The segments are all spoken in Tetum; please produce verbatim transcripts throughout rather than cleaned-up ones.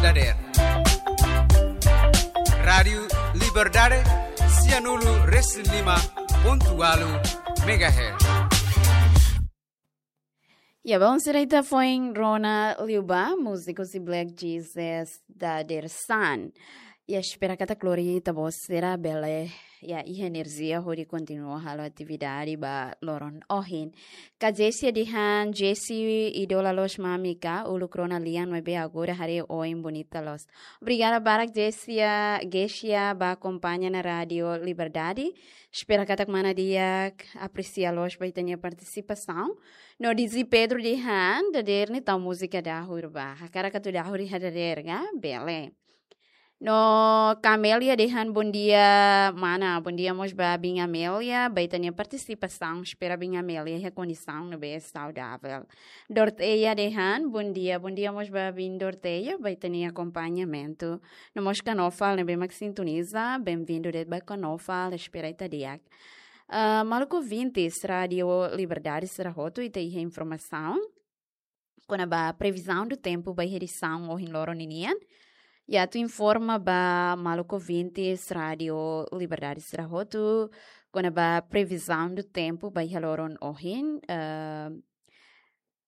Dadeer. Rádiu Liberdade, sianulu resin lima pontu ualu megahertz. Ya, bom, sira ita foin rona liu ba múziku husi Black Jesus dadeer-saan. Ya, espera katak lori ita-boot sira bele, ya, iha enerjia hodi kontinua halo atividade ba loron ohin. Ka Jessia dehan, Jessi idola loos mami ka, uluk rona lian maibé agora haree oin bonita loos. Obrigada barak Jessia, Jessia ba akompaña ona Rádiu Liberdade. Espera katak mana di'ak apresia loos ba ita-nia partisipasaun. No D J Pedro dehan, dadeer ne'e tau múzika dahur ba. Hakarak atu dahur iha dadeer ka, bele. No Camelia dehan, bom dia, mana, bom dia mós ba Biin Amelia, ba ita-nia partisipasaun, espera Biin Amelia iha kondisaun ne'ebé saudavel. Dorteia dehan, bom dia, bom dia mós ba Biin Dorteia, ba ita-nia akompañamentu. No mós Kanofal ne'ebé mak sintoniza, bem-vindo de'it ba Kanofal, espera ita di'ak. Ah, maluk ouvintes, Rádiu Liberdade sira hotu, ita iha informasaun kona-ba previsão do tempo ba edisaun ohin loron ninian. Ya, atu informa ba maluk ouvintes Rádiu Liberdade sira hotu kona-ba previsão do tempo ba iha loron ohin, eh,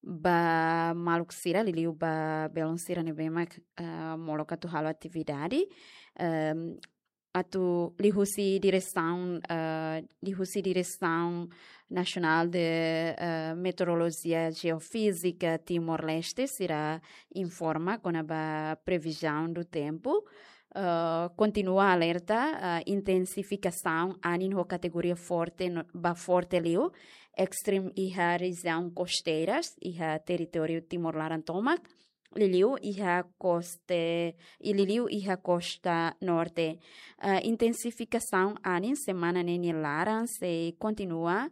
ba maluk sira liuliu ba belun sira ne'ebé mak, eh, molok atu halo atividade. Em, atu liuhusi diresaun, eh, liuhusi Diresaun Nasionál de, eh, Meteorolojia Jeofízika Timor-Leste sira informa kona-ba previsão do tempo. Eh, kontinua alerta, eh, intensifikasaun anin ho kategoria forte no, ba forte liu, ekstrem iha rejiaun kosteiras, iha territóriu Timor laran tomak, liuliu iha koste, i liuliu iha kosta norte. Eh, intensifikasaun anin semana ne'e nia laran sei kontinua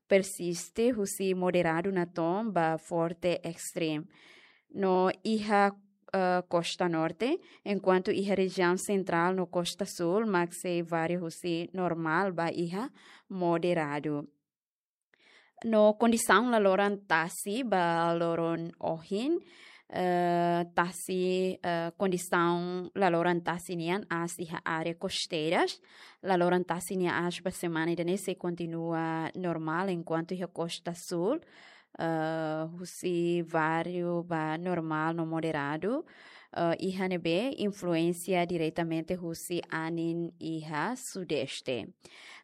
persiste husi moderadu natoon ba forte ekstrem. No iha, eh, kosta norte, enkuantu iha rejiaun sentrál no kosta súl mak sei varia husi normál ba iha moderadu. No kondisaun laloran tasi ba loron ohin, eh, tasi, eh, kondisaun laloran tasi nian aas iha área kosteiras. Laloran tasi nia aas ba semana ida-ne'e sei kontinua normál, enkuantu iha kosta súl, eh, husi varia ba normál no moderadu, eh, iha ne'ebé influénsia diretamente husi anin iha sudeste.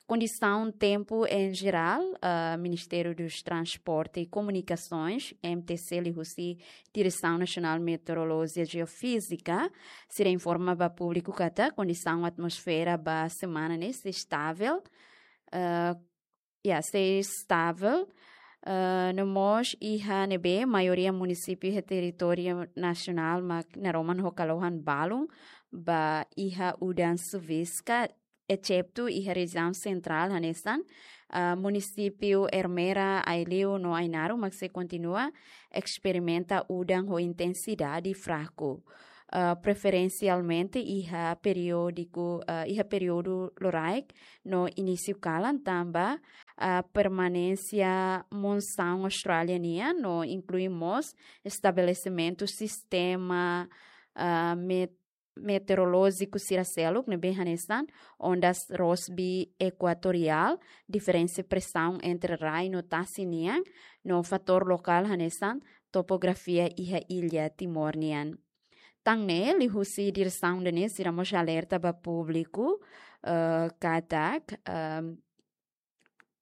Kondisaun tempu em geral, eh, Ministériu dos Transporte e Komunikasoens, M T C, liuhusi Diresaun Nasionál Meteorolojia Jeofízika, sira informa ba públiku katak kondisaun atmosfera ba semana ne'e sei estável, eh, ya, sei estável, eh, no mós iha ne'ebé maioria munisípiu iha territóriu nasionál mak naroman ho kalohan balun ba iha udan suviska, exetu iha rejiaun sentrál hanesan, ah, munisípiu Ermera, Aileu no Ainaro mak sei kontinua esperimenta udan ho intensidade fraku. Ah, preferensialmente iha períodu, ah, iha períodu loraik no inísiu kalan tanba, ah, permanénsia monsaun Austrália nian no inklui mós estabelesimentu sistema, ah, met-, meteorolójiku sira seluk ne'ebé hanesan ondas Rossby ekuatoriál, diferensa presaun entre rai no tasi nian, no fatór lokál hanesan topografia iha illa Timor nian. Tan ne'e, liuhusi diresaun ida-ne'e sira mós alerta ba públiku, eh, katak, ehm,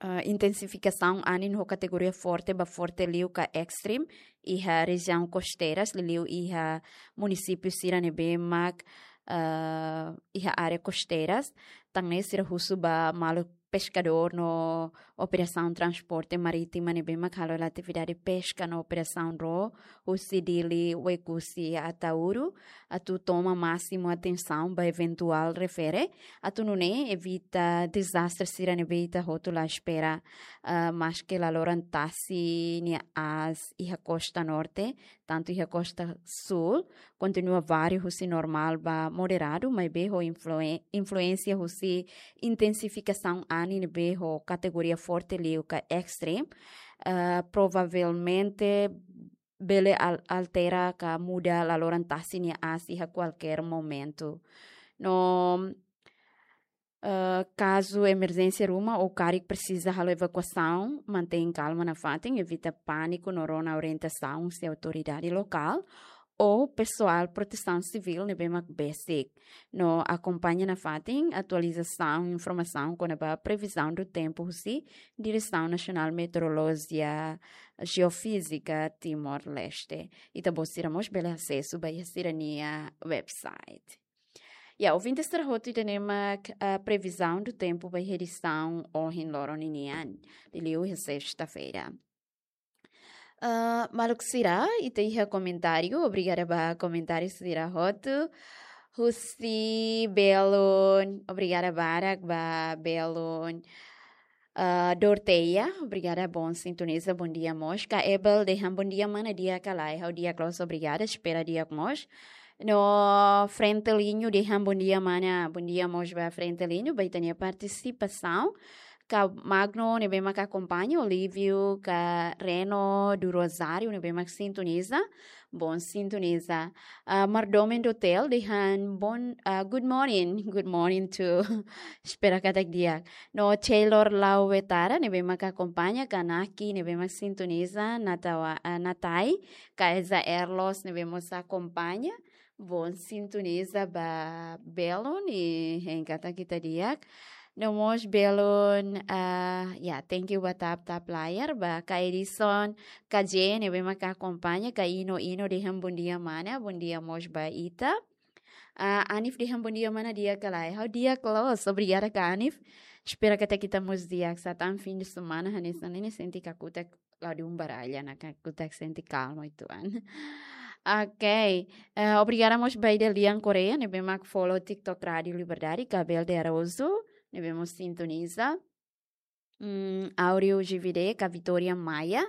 eh, intensifikasaun anin ho kategoria forte ba forte liu ka ekstrem iha rejiaun kosteiras, liuliu iha munisípiu sira ne'ebé mak, eh, iha área kosteiras. Tan ne'e sira husu ba maluk peskadór no operasaun transporte marítima ne'ebé mak halo hela atividade peska no operasaun ró husi Dili, Oekusi, Ataúru, atu toma másimu atensaun ba eventuál refere, atu nune'e evita dezastre sira ne'ebé ita hotu la espera, ah, maske laloran tasi nia aas iha kosta norte, tantu iha kosta súl, kontinua varia husi normál ba moderadu, maibé ho influen-, influénsia husi intensifikasaun anin ne'ebé ho kategoria forte liu ka ekstrem, ah, provavelmente bele al-, altera ka muda laloran tasi nia asi iha kualkér momentu. No, eh, kazu emerjénsia ruma ou karik presiza halo evakuasaun, mantein kalma nafatin, evita pániku no rona orientasaun husi autoridade lokál ou pesoál protesaun sivíl ne'ebé mak besik. No akompaña nafatin atualizasaun informasaun kona-ba previzaun do tempu husi Diresaun Nasionál Meteorolojia Jeofízika Timor-Leste. Ita-boot sira mós bele asesu ba iha sira-nia website. Ya, ouvinte sira hotu, ida-ne'e mak, ah, previzaun do tempu ba iha edisaun ohin loron ninian, liuliu iha sesta-feira. Ah, maluk sira, ita iha komentáriu, obrigada ba komentáriu sira hotu. Husi Belun, obrigada barak ba Belun. Ah, Dorteia, obrigada, bom sintoniza, bondia mós. Ka Ebel dehan bondia mana, di'ak ka lae? Ha'u di'ak loos, obrigada, espera di'ak mós. No Frentelinho dehan bondia mana, bondia mós ba Frentelinho, ba ita-nia partisipasaun. Ka Magno ne'ebé mak akompaña, Olívio, ka Reno do Rosário ne'ebé mak sintoniza, bom sintoniza. Ah, Mardomen do Hotel dehan bon, ah, good morning, good morning too. Espera katak di'ak. No Taylor Lau Wetara ne'ebé mak akompaña, ka Naki ne'ebé mak sintoniza, Natawa-, ah, Natai, ka Eza Erlos ne'ebé mós akompaña. Bom sintoniza ba Belun, hein katak ita di'ak. No mós Belun, ah, ya, thank you ba tap-tap layar, ba ka Edison, ka J ne'ebé mak akompaña, ka Ino, Ino dehan bondia mana, bondia mós ba ita. Ah, Anif dehan bondia mana, di'ak ka lae? Ha'u di'ak loos, obrigada ka Anif. Espera katak ita mós di'ak, sá tan fim de semana, hanesan ne'e sente kakutak ladún baralla, ne'e kakutak sente kalma uitoan. Ok. Eh, obrigada mós ba Idelian Correia, ne'ebé mak follow TikTok Rádio Liberdade, ka Bel de Araújo, ne'ebé mós sintoniza. Mm, Áureo G V D, ka Vitória Maia,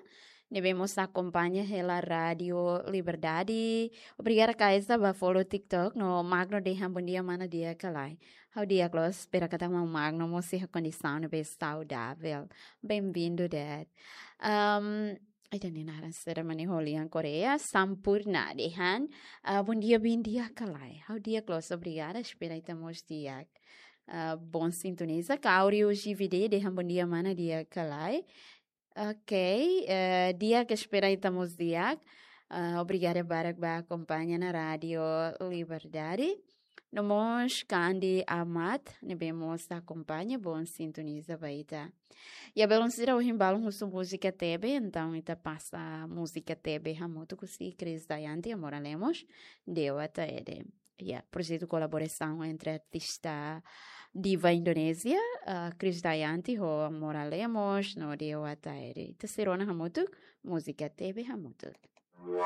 ne'ebé mós akompaña hela Rádio Liberdade. Obrigada ka Eza ba follow TikTok, no Magno dehan bondia mana, di'ak ka lae? Ha'u di'ak loos, espera katak maun Magno mós iha kondisaun ne'ebé saudável. Bem-vindo, Dad. Um, ai, ida-ne'e naran sira mane Holian Correia, Sampurna dehan, ah, bondia, bin di'ak ka lae? Ha'u di'ak loos, obrigada, espera ita mós di'ak. Ah, bom sintoniza, ka Áureo G V D dehan bondia mana, di'ak ka lae? Ok, eh, di'ak, espera ita mós di'ak. Ah, obrigada barak ba akompaña ona Rádio Liberdade. No mós ka Andi Amat, ne'ebé mós akompaña, bom sintoniza ba ita. Ya, belun sira, ohin balun husu múzika tebe, entaun ita pasa múzika tebe hamutuk husi Chris Dayanti, Amora Lemos, Dewa Taede. Ya, projetu kolaborasaun entre artista diva Indonézia, ah, Chris Dayanti ho Amora Lemos no Dewa Taede. Ita sei rona hamutuk múzika tebe hamutuk.